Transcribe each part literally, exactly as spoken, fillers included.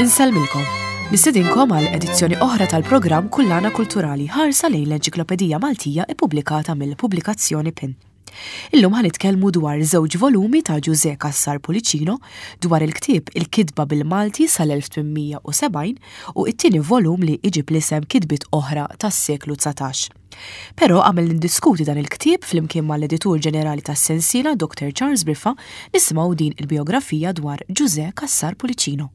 Insellmilkom. Nistedinkom għal edizzjoni oħra tal-programm Kullana Kulturali ħarsa lejn l-Enċiklopedija Maltija ippubblikata mill-Pubblikazzjoni PIN. Illum ħa nitkellmu dwar żewġ volumi ta' Ġużè Cassar Pullicino dwar il-ktieb Il-Kitba bil-Malti sal-elf tmien mija u sebgħin u it-tieni volum li iġib l-isem Kitbiet Oħra tas-Seklu dsatax. Però qabel nindiskuti dan il-ktieb flimkien mal-editur ġenerali tas-sensiela Doctor Charles Briffa, nisimgħu din il-biografija dwar Ġużè Cassar Pullicino.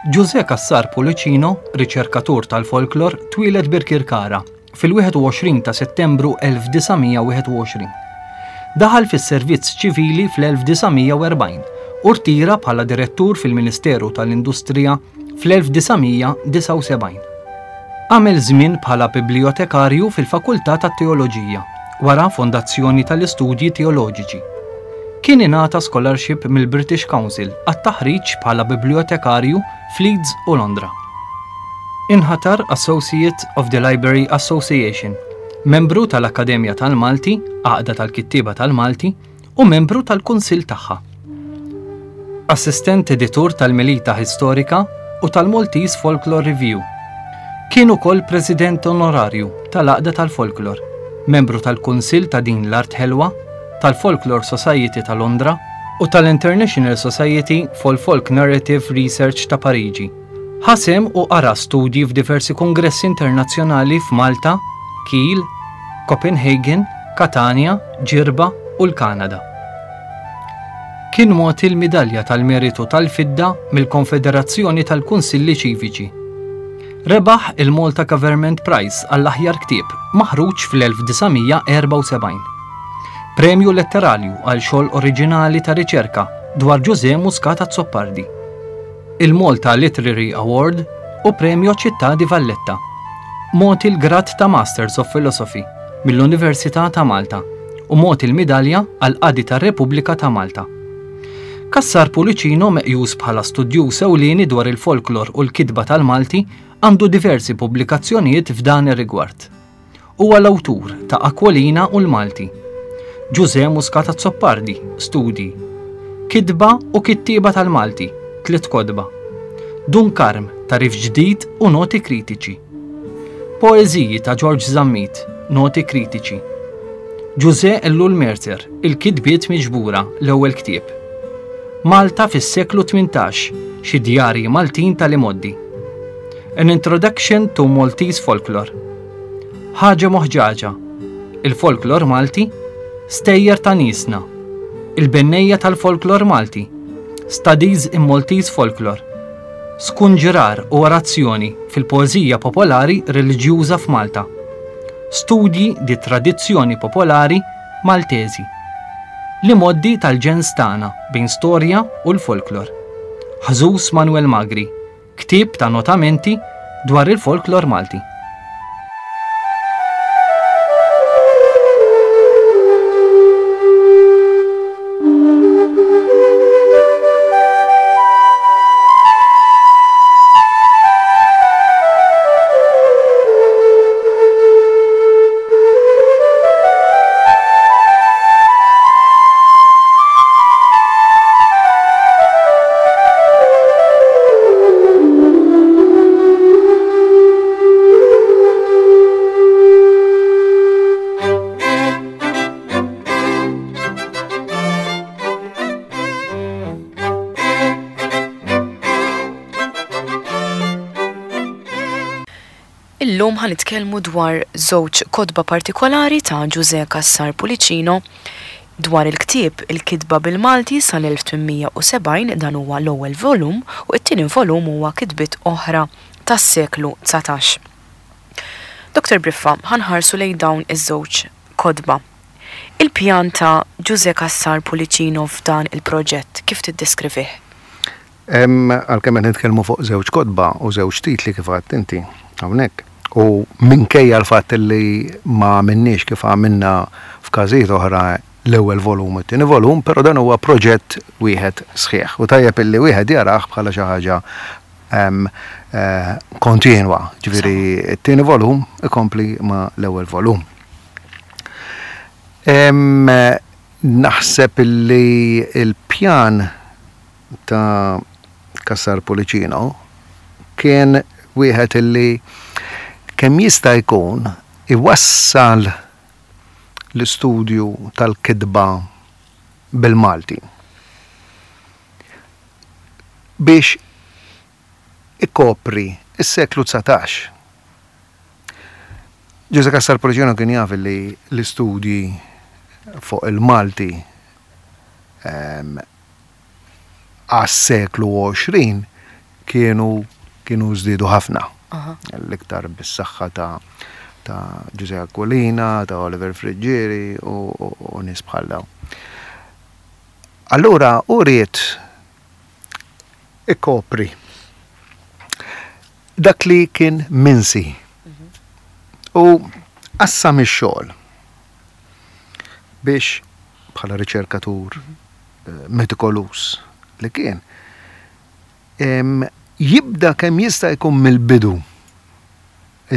Ġużè Cassar Pullicino, riċerkatur tal-folklor, twieled Birkirkara fil-wieħed u għoxrin ta' Settembru elf disa' mija u wieħed u għoxrin. Daħal fis-servizz ċivili fl-elf disa' mija u erbgħin u rtira bħala direttur fil-Ministeru tal-Industrija fl-elf disa' mija disgħa u sebgħin. Għamel żmien bħala bibliotekarju fil-Fakultà tat-Teoloġija wara Fondazzjoni tal-Istudji Teoloġiċi. Kien ingħata scholarship mill-British Council għat-taħriġ bħala bibliotekarju f'Leeds u Londra. Inħatar Associate of the Library Association, membru tal-Akkademja tal-Malti, Għaqda tal-Kittieba tal-Malti, u membru tal-Kunsill tagħha. Assistent editur tal-Melita Historica u tal-Maltese Folklore Review. Kien ukoll President Onorarju tal-Għaqda tal-Folklor, membru tal-Kunsill ta' Din l-Art Ħelwa, tal-Folklore Society ta' Londra u tal-International Society for Folk Narrative Research ta' Pariġi. Ħa sehem u qara studji f'diversi kongressi internazzjonali f'Malta, Kiel, Copenhagen, Catania, Ġirba u l-Kanada. Kien mogħti l-Midalja tal-Meritu tal-Fidda mill-Konfederazzjoni tal-Kunsilli Ċiviċi. Rebaħ il-Malta Government Prize għall-aħjar ktieb maħruġ fl-elf disa' mija erbgħa u sebgħin. Premju letterarju għal xogħol oriġinali ta' riċerka dwar Ġużè Muscat Azzopardi. Il-Malta Literary Award u Premju Città di Valletta. Mogħti l-grad ta' Masters of Philosophy mill-Università ta' Malta u mogħti l-midalja għal qadi tar-Repubblika ta' Malta. Cassar Pullicino, meqjus bħala studjuż ewlieni dwar il-folklor u l-kitba tal-Malti, għandu diversi pubblikazzjonijiet f'dan ir-rigward. Huwa l-awtur ta' Aquilina u l-Malti, Ġużè Muscat Azzopardi, Studji, Kitba u Kittieba tal-Malti, tliet kotba, Dun Karm, Tagħrif Ġdid u Noti Kritiċi, Poeżiji ta' George Zammit, Noti Kritiċi, Ġużè Ellul Mercer, Il-Kitbiet Miġbura, l-ewwel ktieb, Malta fis-seklu tmintax, xi djarji Maltin tal-imgħoddi, An Introduction to Maltese Folklore, Ħaġa Moħġaġa, Il-Folklor Malti, Stejjer ta' Nisna, Il-Bennejja tal-Folklor Malti, Studies in Maltese Folklore, Skunġirar u Orazzjoni fil-Poeżija Popolari Reliġjuża f'Malta, Studji di Tradizzjoni Popolari Maltesi, L-Imgħoddi tal-Ġens Tagħna bejn Storja u l-Folklor, Ħżus Manuel Magri, ktieb ta' notamenti dwar il-folklor Malti. Illum ħa nitkellmu dwar żewġ kotba partikolari ta' Ġużè Cassar Pullicino, dwar il-ktieb Il-Kitba bil-Malti sal-elf tmien mija u sebgħin, dan huwa l-ewwel volum, u t-tieni volum huwa Kitbiet Oħra tas-Seklu dsatax. Doctor Briffa, ħa nħarsu lejn dawn iż-żewġ kotba. Il-pjan ta' Ġużè Cassar Pullicino f'dan il-proġett kif tiddeskrivih? Għalkemm qed nitkellmu fuq żewġ kotba u żewġ titli kif għedt inti hawnhekk, u minkejja l-fatt li ma għamilniex kif għamilna f'każijiet oħra l-ewwel volum u t-tieni volum, però dan huwa proġett wieħed sħiħ. U tajjeb illi wieħed jarah bħala xi ħaġa eh, kontinwa, ġifieri t-tieni volum ikompli ma l-ewwel volum. Naħseb illi il-pjan ta' Cassar Pullicino kien wieħed illi kemm jista' jkun iwassal l-istudju tal-kitba bil-Malti biex ikopri is-seklu dsatax. Ġużè Cassar Pullicino kien jaf li l-istudji fuq il-Malti għas-seklu għoxrin kienu kienu żdiedu ħafna. L-iktar bis-saħħa ta' ta' Ġużè Aquilina, ta' Oliver Friggieri u, u, u nies bħal dawn. Allura u ried ikopri dak li kien minsi u qassam ix-xogħol biex bħala riċerkatur metikolus li kien jibda kemm jista' jkun mill-bidu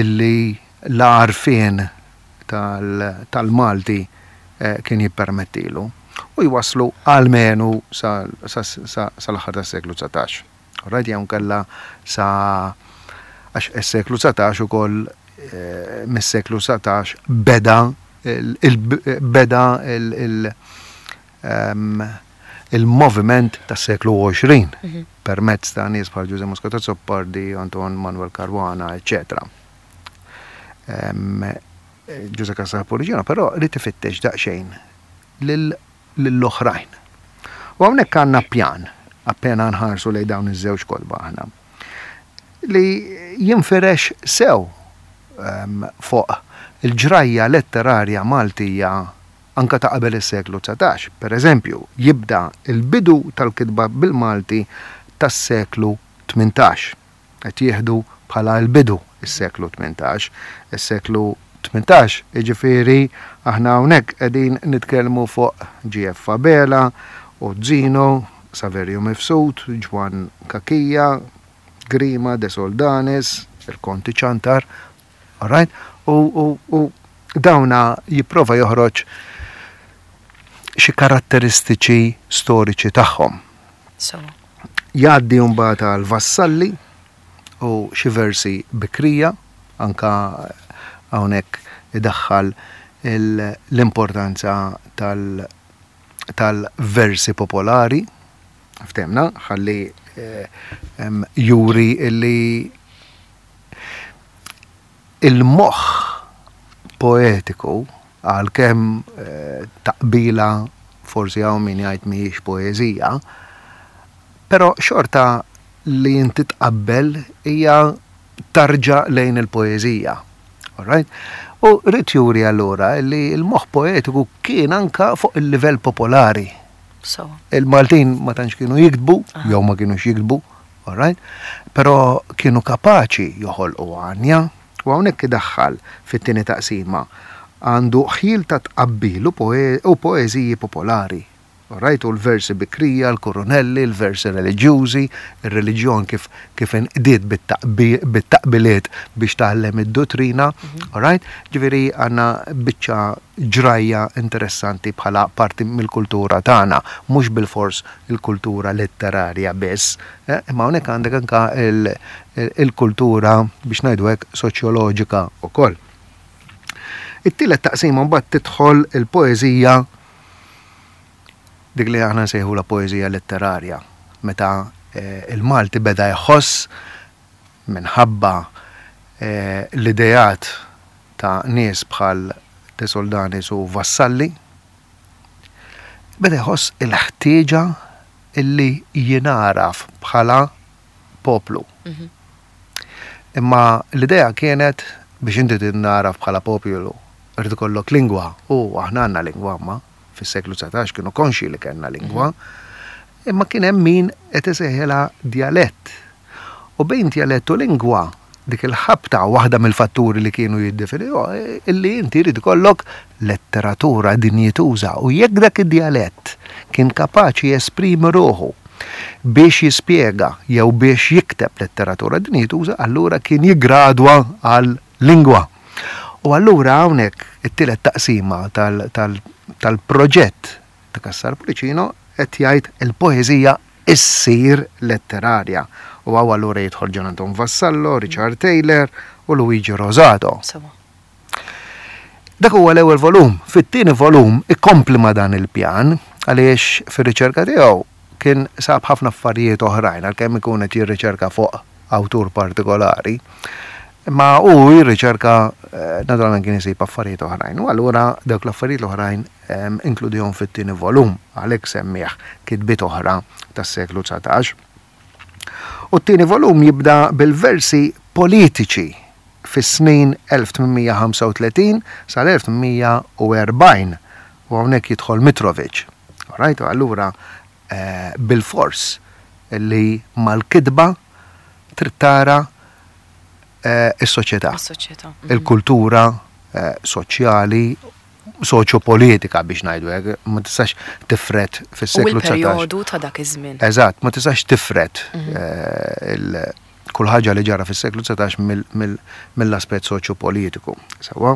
illi l-għarfien tal-Malti kien jippermettilu u jwaslu almenu sal-aħħar tas-seklu dsatax. Right, jew kella sa għax is-seklu dsatax ukoll mis-seklu dsatax beda beda il-moviment tas-seklu għoxrin permezz ta' nies bħal Ġużè Muscat Azzopardi, Anton Manuel Caruana, eċċetera. Ġużè Cassar Pullicino però ried ifittex daqsxejn lill-oħrajn. U hawnhekk għandna pjan, appena nħarsu lejn dawn iż-żewġ kotba aħna, li jinfirex sew fuq il-ġrajja letterarja Maltija anka ta' qabel is-seklu dsatax. Per eżempju, jibda il-bidu tal-kitba bil-Malti tas-seklu tmintax. Qed jieħdu bħala l-bidu is-seklu tmintax. Is-seklu tmintax, jiġifieri aħna hawnhekk qegħdin nitkellmu fuq G F Abela, Ozzino, Saverio Mifsud, Ġwann Cachia, Grima, De Soldanis, il-Konti Ciantar, all right? U, u, u dawna jipprova joħroġ xi karatteristiċi storiċi tagħhom. So. Jgħaddi mbagħad għal Vassalli u xi versi bikrija, anka hawnhekk idaħħal l-importanza tal-, tal-versi popolari, ftemna, ħalli, eh, em, juri illi il-moħħ poetiku, għalkemm, eh, taqbila forsi hawn min jgħid mhijiex poeżija, però xorta li inti tqabbel hija tarġa lejn il-poeżija. All right? U rrid juri allura li l-moħħ poetiku kien anka fuq il-livell popolari. So. Il-Maltin ma tantx kienu jiktbu, Aha. jew ma kienux jiktbu, all right? Però kienu kapaċi joħolqu għanja, u hawnhekk idaħħal fit-tieni taqsima għandu ħjiel ta' tqabbil u poe-, u poeżiji popolari. All right? U l-versi bikrija, l-kurunelli, l-versi reliġjużi, ir-reliġjon kif, kif inqdiet bit-taqbi-, bit-taqbiliet biex tgħallem id-dottrina, Mhm. all right? Ġifieri għandna biċċa ġrajja interessanti bħala parti mill-kultura tagħna, mhux bilfors il-kultura letterarja biss, eh, imma hawnhekk għandek anka il-, il-kultura biex ngħidu hekk soċjoloġika wkoll. It-tielet taqsima mbagħad tidħol il-poeżija, dik li aħna nsejħu la poeżija letterarja, meta, eh, il-Malti beda jħoss minħabba, eh, l-idejat ta' nies bħal De Soldanis u Vassalli, beda jħoss il-ħtieġa illi jingħaraf bħala poplu. Mhm. Imma l-idea kienet biex inti tingħaraf bħala poplu, irid ikollok lingwa, u aħna għandna lingwa, ma fis-seklu dsatax kienu konxi li kellna lingwa, imma kien hemm min qed isejħilha djalett. U bejn djalett u lingwa, dik il-ħabta waħda mill-fatturi li kienu jiddefiniw, illi inti jrid ikollok letteratura dinjituża, u jekk dak id-djalett kien kapaċi jesprimi ruħu biex jispjega jew biex jikteb letteratura dinjituża, allura kien jiggradwa għal lingwa. U allura hawnhekk it-tielet taqsima tal-, tal-, tal-proġett ta' Cassar Pullicino qed jgħid il-poeżija issir letterarja. U hawn allura jidħol Gian Anton Vassallo, Richard Taylor u Luigi Rosato. Sewa. Dak huwa l-ewwel volum. Fit-tieni volum ikompli ma' dan il-pjan għaliex fir-riċerka tiegħu kien sab ħafna affarijiet oħrajn għalkemm ikun qed jirriċerka fuq awtur partikolari. Imma hu jirriċerka eh, naturalment kien isib affarijiet oħrajn. U allura dawk l-affarijiet l-oħrajn em, inkludihom fit-tieni volum għalhekk semmih kitbiet oħra tas-seklu dsatax. U t-tieni volum jibda bil-versi politiċi fis-snin elf tmien mija u ħamsa u tletin sal-elf tmien mija u erbgħin u hawnhekk jidħol Mitrovic. Alright, u allura eh, bil-fors li mal-kitba trid tara eh, is-soċjetà, Is-soċjetà. il-kultura eh, soċjali, soċjopolitika biex ngħidu hekk, ma tistax tifret U fis-seklu dsatax. il-perjodu ta' dak iż-żmien. Eżatt, ma tistax tifret eh, il- kull ħaġa li ġara fis-seklu dsatax mill-aspett soċjopolitiku. Sewwa,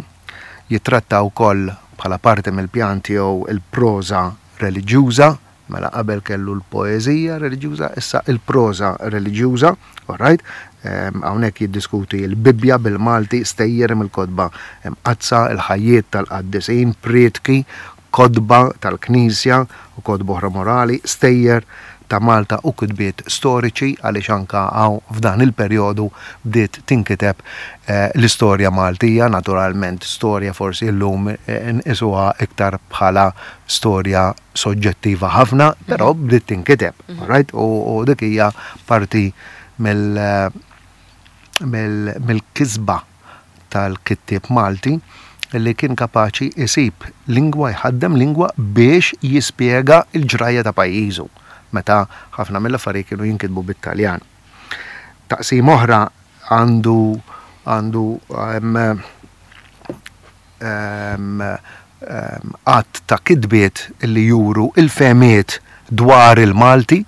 jitratta wkoll bħala parti mill-pjan tiegħu il-proża reliġjuża, mela qabel kellu l-poeżija reliġjuża, issa il-proża reliġjuża, alright? Em, Hawnhekk jiddiskuti l-Bibbja bil-Malti, stejjer mill-kotba imqaddsa, il-ħajjiet tal-qaddisin, prietki, kotba tal-Knisja u kotba oħra morali, stejjer ta' Malta u kitbiet storiċi għaliex anka hawn f'dan il-perjodu bdiet tinkiteb eh, l-istorja Maltija, naturalment storja forsi llum eh, nqisuha iktar bħala storja soġġettiva ħafna, però bdiet tinkiteb, alright? U, u dik hija parti mill mill- mill-kisba tal-kittieb Malti li kien kapaċi isib lingwa, jħaddem lingwa biex jispjega il-ġrajja ta' pajjiżu meta ħafna mill-affarijiet kienu jinkitbu bit-Taljan. Taqsim oħra għandu għandu em, em, em, għadd ta' kitbiet li juru il-fehmiet dwar il-Malti,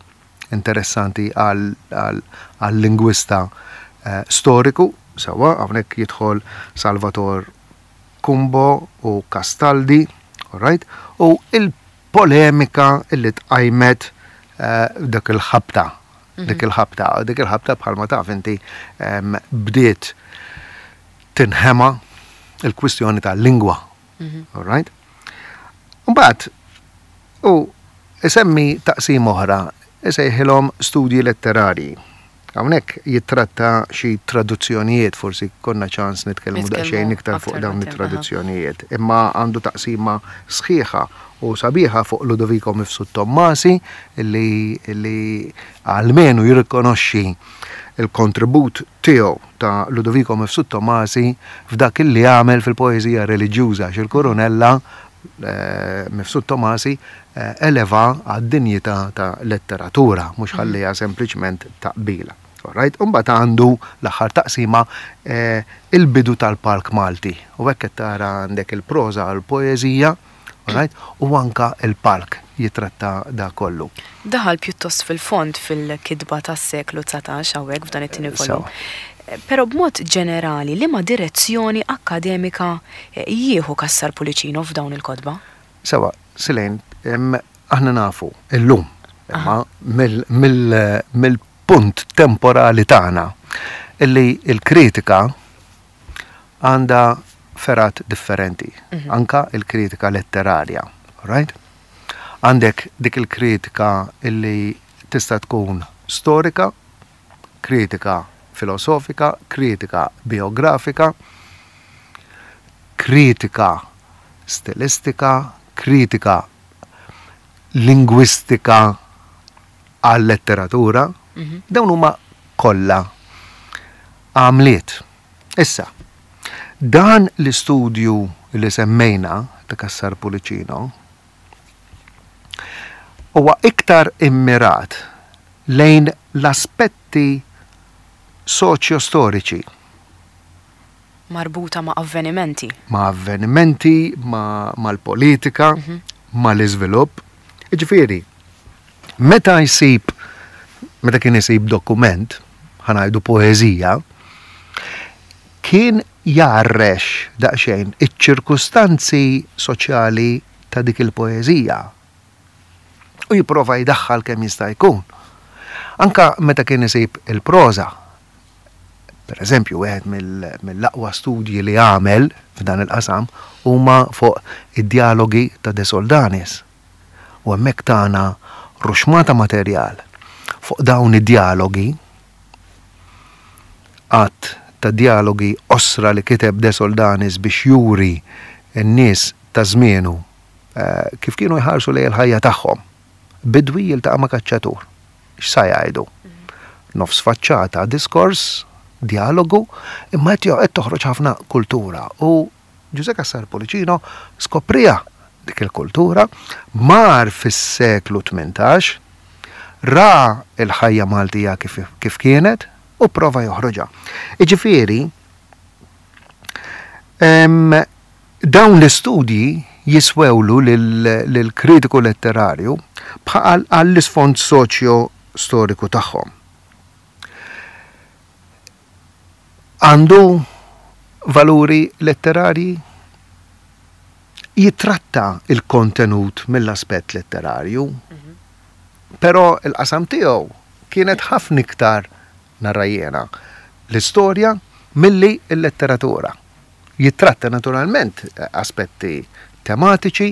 interessanti għal-lingwista eh, storiku, sewwa, hawnhekk jidħol Salvator Cumbo u Castaldi, alright, u il-polemika illi tqajmet eh, dak il-ħabta, dik il-ħabta, dik il-ħabta bħalma taf inti em, bdiet tinħema il-kwistjoni tal-lingwa. Alright? Mbagħad u isemmi taqsim oħra, isejħilhom studji letterarji. Hawnhekk jittratta xi traduzzjonijiet, forsi konna ċans nitkellmu Nitkellmu daqsxejn iktar fuq aktar dawn quddiem, it-traduzzjonijiet. Imma għandu taqsima sħiħa u sabiħa fuq Ludovico Mifsud Tommasi illi, illi almenu jirrikonoxxi il-kontribut tiegħu ta' Ludovico Mifsud Tommasi f'dak illi għamel fil-poeżija reliġjuża x'il-Kurunella eh, Mifsud Tommasi eh, eleva għad-dinjità ta' letteratura, mhux ħallija sempliċement taqbila. Alright? Umbagħad għandu l-aħħar taqsima eh, il-bidu tal-Palk Malti. U hekk qed tara għandek il-proża l-poeżija, alright? U anka il-palk jitratta da kollu. Daħal pjuttost fil-fond fil-kitba tas-seklu dsatax hawnhekk f'dan it-tieni volum. Sewa. Però b'mod ġenerali, liema direzzjoni akkademika eh, jieħu Cassar Pullicino f'dawn il-kotba? Sewwa, Silejn, em, aħna nafu illum, imma mill-punt temporali tagħna illi il-kritika għandha fergħat differenti, anka il-kritika letterarja, right? Għandek dik il-kritika illi tista' tkun storika, kritika filosofika, kritika biografika, kritika stilistika, kritika lingwistika għal-letteratura, dawn huma kollha għamliet. Issa, dan l-istudju li semmejna ta' Cassar Pullicino huwa iktar immirat lejn l-aspetti soċjo-storiċi. Marbuta ma' avvenimenti. Ma' avvenimenti, ma' mal-politika, ma' l-iżvilupp. Ġifieri, meta jsib, meta kien isib dokument, ħa ngħidu poeżija, kien jgħarrex daqsxejn iċ-ċirkustanzi soċjali ta' dik il-poeżija. U jipprova jdaħħal kemm jista' jkun. Anka meta kien isib il-proża, per eżempju, wieħed mill-aqwa studji li għamel f'dan il-qasam huma fuq id-dialogi ta' De Soldanis. U hemmhekk tagħna ruxmata materjal fuq dawn id-dialogi, għadd ta' dialogi osra li kiteb De Soldanis biex juri n-nies ta' żmienu kif kienu jħarsu lejn il-ħajja tagħhom. Bidwi jiltaqa' ma' kaċċatur. X'sa jgħidu? Nofs faċċata, diskors, dialogu, imma qed toħroġ ħafna kultura. U Ġużè Cassar Pullicino skoprija dik il-kultura, mar fis-seklu tmintax, ra il-ħajja Maltija kif, kif kienet u prova joħroġha. Iġifieri, dawn l-istudji jiswewlu lill-kritiku letterarju bħal għall-isfond soċjo-storiku tagħhom. Għandu valuri letterarji, jitratta il-kontenut mill-aspett letterarju, però il-qasam tiegħu kienet ħafna iktar narra jiena l-istorja milli l-letteratura. Jitratta naturalment aspetti tematiċi,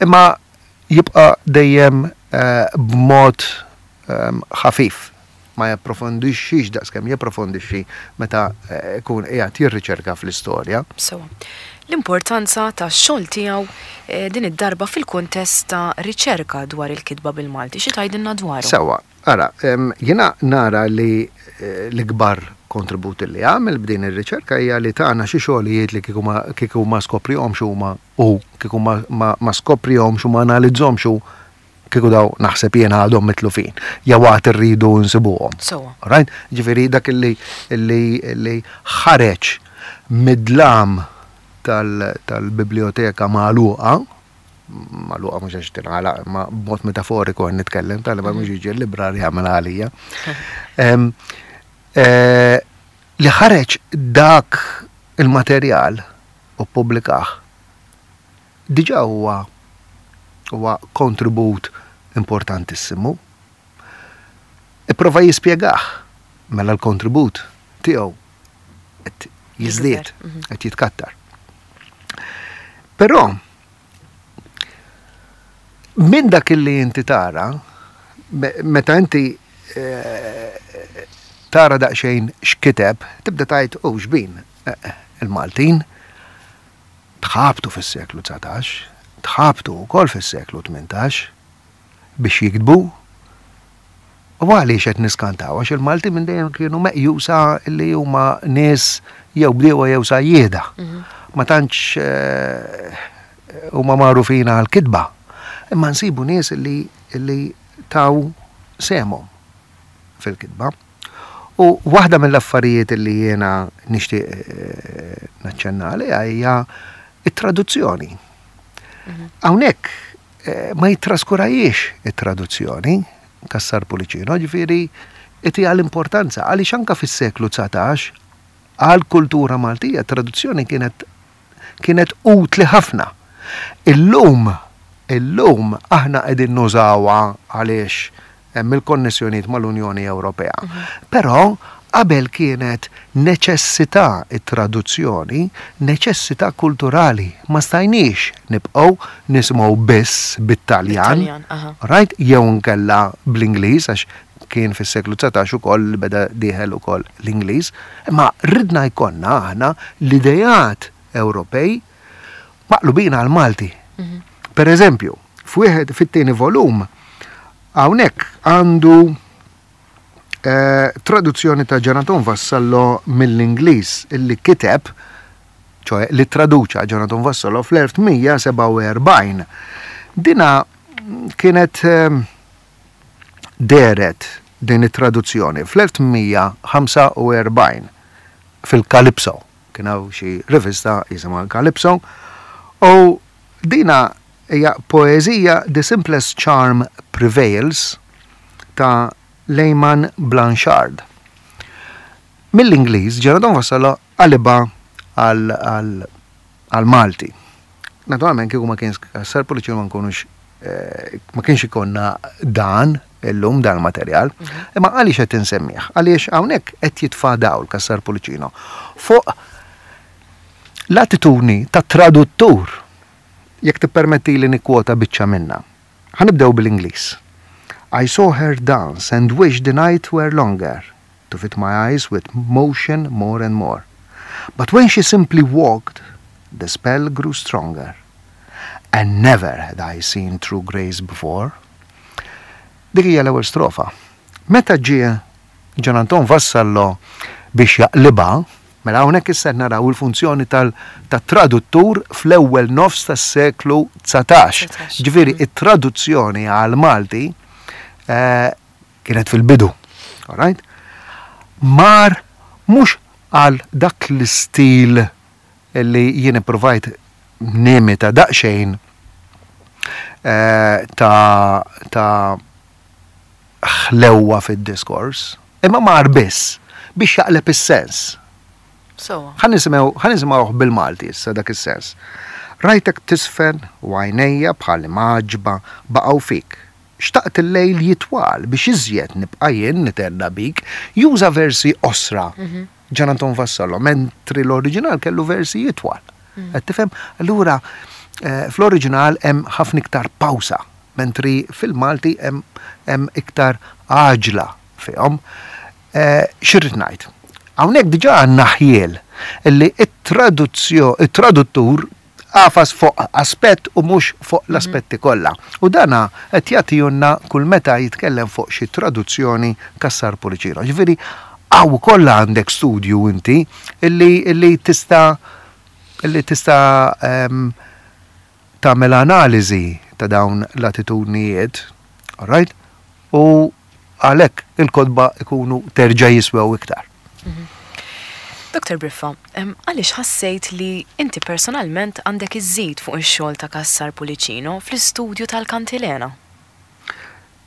imma jibqa' dejjem b'mod ħafif, ma japprofondixxix daqskemm japprofondixxi meta jkun qiegħed jirriċerka fl-istorja. Sewa. L-importanza tax-xogħol tiegħu din id-darba fil-kuntest ta' riċerka dwar il-kitba bil-Malti, xi tgħidilna dwaru? Sewa, ara, jiena nara li l-ikbar kontribut li għamel b'din ir-riċerka hija li tagħna xi xogħlijiet li kieku ma skoprihomx huma u kieku ma skoprihomx u ma analizzhomx u kieku daw naħseb jiena għadhom mitlufin, jew għad irridu nsibuhom. Sewa. Right? Ġifieri dak li li ħareġ mid-dlam tal-biblioteka magħluqa, magħluqa mhux għax tingħalaq, imma b'mod metaforiku qed nitkellem, tal ma mhux jiġi l-librar jagħmel għalija. Li ħareġ dak il-materjal u ppubblikah diġà huwa huwa kontribut importantissimu. Ipprova jispjegah mela l-kontribut tiegħu qed jiżdied, qed jitkattar. Però minn dak li inti tara, meta inti tara daqsxejn x'kiteb, tibda tgħid oh xbin il-Maltin tħabtu fis-seklu dsatax, tħabtu wkoll fis-seklu tmintax biex jiktbu. U għaliex qed niskantaw, għax il-Malti minn dejjem kienu meqjusa li huma nies jew bdiewa jew sajjieda. Ma tantx huma magħrufin għall-kitba. Imma nsibu nies li li taw sehemhom fil-kitba. U waħda mill-affarijiet li jiena nixtieq naċċenna għaliha hija it-traduzzjoni. Hawnhekk ma jittraskurajiex it-traduzzjoni Cassar Pullicino, ġifieri itiha l-importanza għaliex anke fis-seklu dsatax għall-kultura Maltija traduzzjoni kienet kienet utli ħafna. Illum, illum aħna qegħdin nużawha għaliex hemm il-konnessjonijiet mal-Unjoni Ewropea. Però qabel kienet neċessità it-traduzzjoni, neċessità kulturali. Ma stajniex nibqgħu nisimgħu biss bit-Taljan, right? Jew nkella bl-Ingliż, għax kien fis-seklu dsatax ukoll beda dieħel ukoll l-Ingliż, imma ridna jkollna aħna l-idejat Ewropej maqlubin għal Malti. Per eżempju, f'wieħed fit-tieni volum hawnhekk għandu traduzzjoni ta' Jonathan Vassallo mill-Ingliż illi kiteb, ċoe li traduċa Jonathan Vassallo fl-elf tmija sebgħa u erbgħin. Dina kienet deret din it-traduzzjoni fl-elf tmija ħamsa u erbgħin fil-Calypso. Kien hawn xi rivista jisimha Calypso u dina hija poeżija The Simplest Charm Prevails ta' Leyman Blanchard. Mill-Ingliż Jonathan Vassallo qalibha għal-Malti. Naturalment kieku ma kienx Cassar Pullicino ma nkunux eh, ma kienx ikollna dan illum dan il-materjal. Imma għaliex qed insemmih? Għaliex hawnhekk qed jitfa' dawl Cassar Pullicino fuq l-attitudni ta' traduttur, jekk tippermetti li nikkwota biċċa minna. Ħa nibdew bil-Ingliż. "I saw her dance and wish the night were longer, to fit my eyes with motion more and more. But when she simply walked, the spell grew stronger. And never had I seen true grace before." Dik hija l-ewwel strofa. Meta ġie Gian Anton Vassallo biex jaqlibha, mela hawnhekk issa naraw il-funzjoni tal-traduttur fl-ewwel nofs tas-seklu dsatax. Ġifieri it-traduzzjoni għal Malti eh, kienet fil-bidu. All right? Mar mhux għal dak l-istil li jien ipprovajt nimita daqsxejn eh, ta' ta' ħlewwa fid-diskors, imma mar biss biex jaqleb is-sens. Ħa nisimgħu bil-Malti issa dak is-sens. "Rajtek tiżfen u għajnejja bħal mgħaġġba baqgħu fik. Xtaqt il-lejl jitwal biex iżjed nibqa' jien nithenna bik." Juża versi qosra. Mhm. Gian Anton Vassallo, mentri l-oriġinal kellu versi jitwal. Mm. Qed tifhem? Allura eh, fl-oriġinal hemm ħafna iktar pawsa, mentri fil-Malti hemm iktar għaġla fihom. Eh, X'irrid ngħid? Hawnhekk diġà għandna ħjiel illi it-traduttur għafas fuq aspett u mhux fuq mhm. l-aspetti kollha. U dana qed jagħtihulna kull meta jitkellem fuq xi traduzzjoni Cassar Pullicino. Ġifieri hawn kollha għandek studju inti illi illi tista' illi tista' um, tagħmel analiżi ta' dawn l-attitudnijiet, all right? U għalhekk il-kotba ikunu terġa' jiswew iktar. Mhm. Doktor Briffa, għaliex ħassejt li inti personalment għandek iżżid fuq ix-xogħol ta' Cassar Pullicino fl-istudju tal-Kantilena?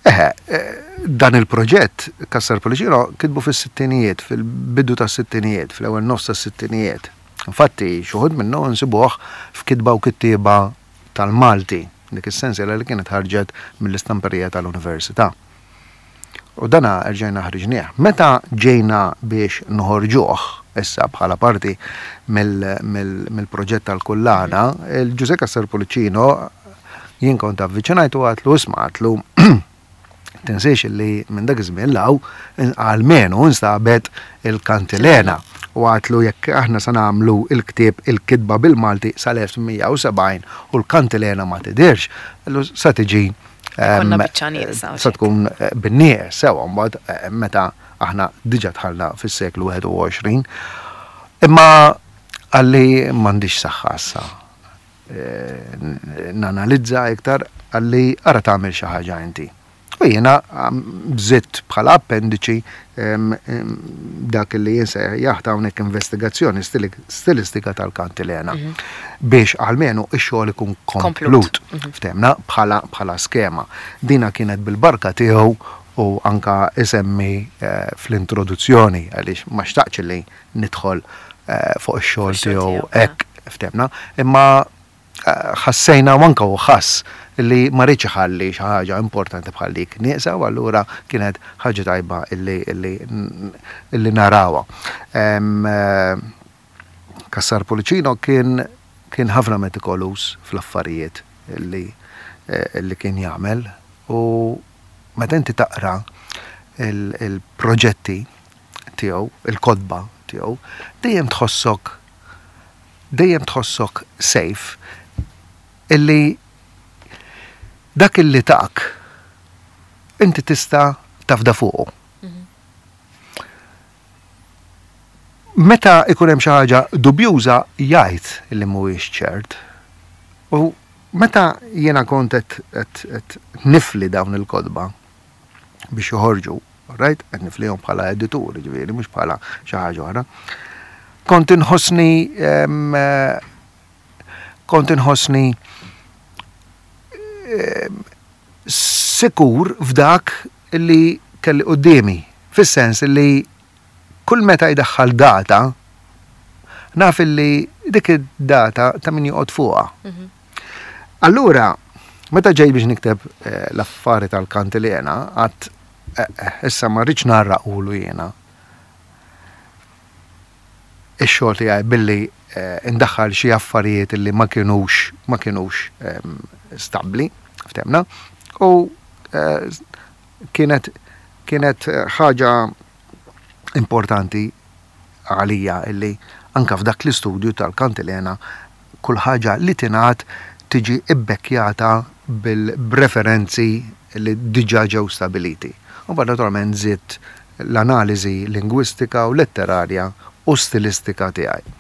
Eħe, eh, dan il-proġett Cassar Pullicino kitbu fis-sittinijiet, fil-bidu tas-sittinijiet, fl-ewwel nofs tas-sittinijiet. Infatti, xi wħud minnu nsibuh f'Kitba u Kittieba tal-Malti, dik is-sensiela li kienet ħarġet mill-istamperija tal-Università. U dana rġajna ħriġnieh. Meta ġejna biex noħorġuh, issa bħala parti mill-proġett tal-kullana, il-Ġużè Cassar Pullicino jien kont avviċinajtu, għedtlu, "Isma'," għedtlu, "tinsiex li minn dak iż-żmien 'l hawn almenu instabet il-Kantilena." U għedtlu, "Jekk aħna sa nagħmlu il-ktieb il-kitba bil-Malti sal-elf tmien mija u sebgħin u l-Kantilena ma tidirx, sa tiġi sa tkun eh, bin-nieqes sewa mbagħad eh, meta aħna diġà dħalna fis-seklu wieħed u għoxrin." Imma qalli, "M'għandix saħħa issa eh, nanalizza iktar," qalli, "ara tagħmel xi ħaġa inti." U jiena żidt bħala appendiċi dak li jinsejjaħ hawnhekk investigazzjoni stilistika tal-Kantilena mhm. biex almenu ix-xogħol ikun komplut. Mhm. Ftemna bħala bħala skema. Dina kienet bil-barka tiegħu u anka isemmi eh, fl-introduzzjoni għaliex ma xtaqx li nidħol eh, fuq ix-xogħol tiegħu hekk, ftemna. Imma ħassejna u anka u ħass li ma riedx iħalli xi ħaġa importanti bħal dik nieqsa u allura kienet ħaġa tajba illi illi illi narawha. Eh, Cassar Pullicino kien kien ħafna metikoluż fl-affarijiet illi eh, illi kien jagħmel u meta inti taqra il-proġetti tiegħu, il-kotba tiegħu, dejjem tħossok dejjem tħossok safe illi dak illi tak inti tista' tafda fuqu. Mhm. Meta ikun hemm xi ħaġa dubjuża jgħid illi mhuwiex ċert. U meta jiena kont qed nifli dawn il-kotba biex joħorġu, right? Qed niflihom bħala editur, ġifieri mhux bħala xi ħaġa oħra. Kont inħossni kont inħossni sikur f'dak li kelli quddiemi, fis-sens li kull meta jdaħħal data, naf li dik id-data ta' min joqgħod fuqha. Mhm. Allura, Meta ġej biex nikteb eh, l-affari tal-kantilena, għedt eh, eh, issa ma rridx ngħarraqulu jiena ix-xogħol tiegħi billi indaħħal xi affarijiet li ma kienux ma kienux ehm, stabbli, ftehmna, u kienet kienet ħaġa importanti għalija illi anka f'dak l-istudju tal-kantilena kull ħaġa li tingħad tiġi ibbekkjata bil-referenzi li diġà ġew stabiliti. U mbagħad naturalment żidt l-analiżi lingwistika u letterarja u stilistika tiegħi.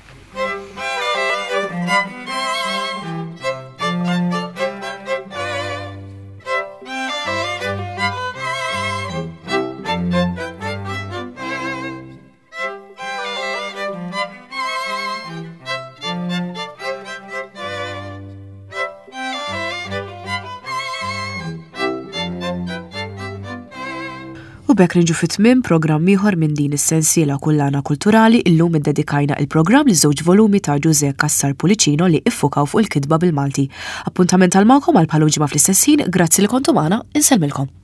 U b'hekk niġu fi tmiem programm ieħor minn din is-sensiela Kullana Kulturali. Illum iddedikajna il-programm li żewġ volumi ta' Ġużè Cassar Pullicino li iffukaw fuq il-kitba bil-Malti. Appuntament għal magħkom għal bħal ġimgħa fl-istess ħin, grazzi li kontu magħna, insellmilkom.